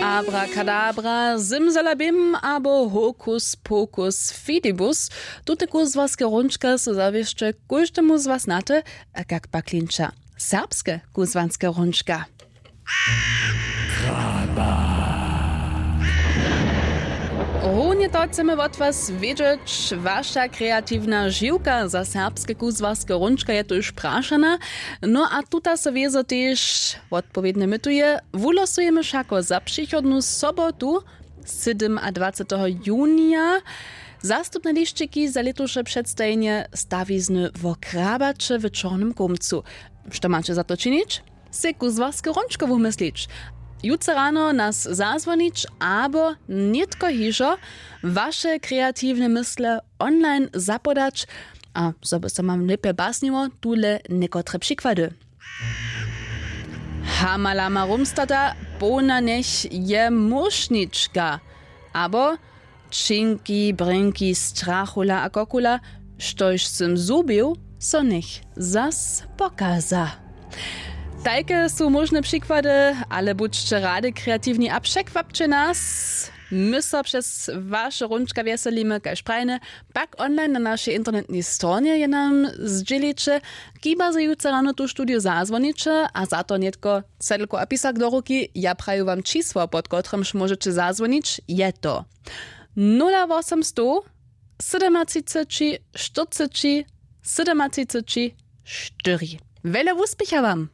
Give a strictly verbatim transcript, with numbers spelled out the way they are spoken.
Abrakadabra, simsalabim abo hokus pokus fidibus. Tute kuzłarske hrónčka su zawěsće kóždemu z was na te, a kak pak klinča serbske kuzłarske hrónčka. Runje to chcemy wot was wědźeć. Waša kreatiwna žiwka za serbske kuzłarske hrónčka je tuž prašana. No a tuta so wězo tež wotpowědnje mytuje. Wulosujemy wšako za přichodnu sobotu, sydomadwaceteho junija, zastupne lisćiki za lětuše předstajenje stawizny wo krabaće w čornym kómcu. Što maće za to činić? Sej kuzłarske hrónčko wumyslić, jutře rano nas zazwonić abo nětko hižo waše kreatiwne mysle online zapodać. A zo by so mam lěpje basniło, tule někotre přikłady. Hamalama rumstata, połna njech je mušnička. Abo činki brěnki strachula a kokula, štož sym zhubił, so njech zas pokaza. Tajke su móžne přikłady, ale budźće rady kreatiwni a překwapće nas. My so přez waše hrónčka wjeselimy kaž prajne, pak online na našej internetnej stronje je nam zdźěliće. Kiba zo jutře rano tu studiju zazwoniće a za to nětko cedlku a pisak do ruki, ja praju wam čisło pod kotrymž móžeće zazwonić, je to nula wosomstow sydomatřiceći štyrceći sydomatřiceći štyri. Wjele wuspěcha wam.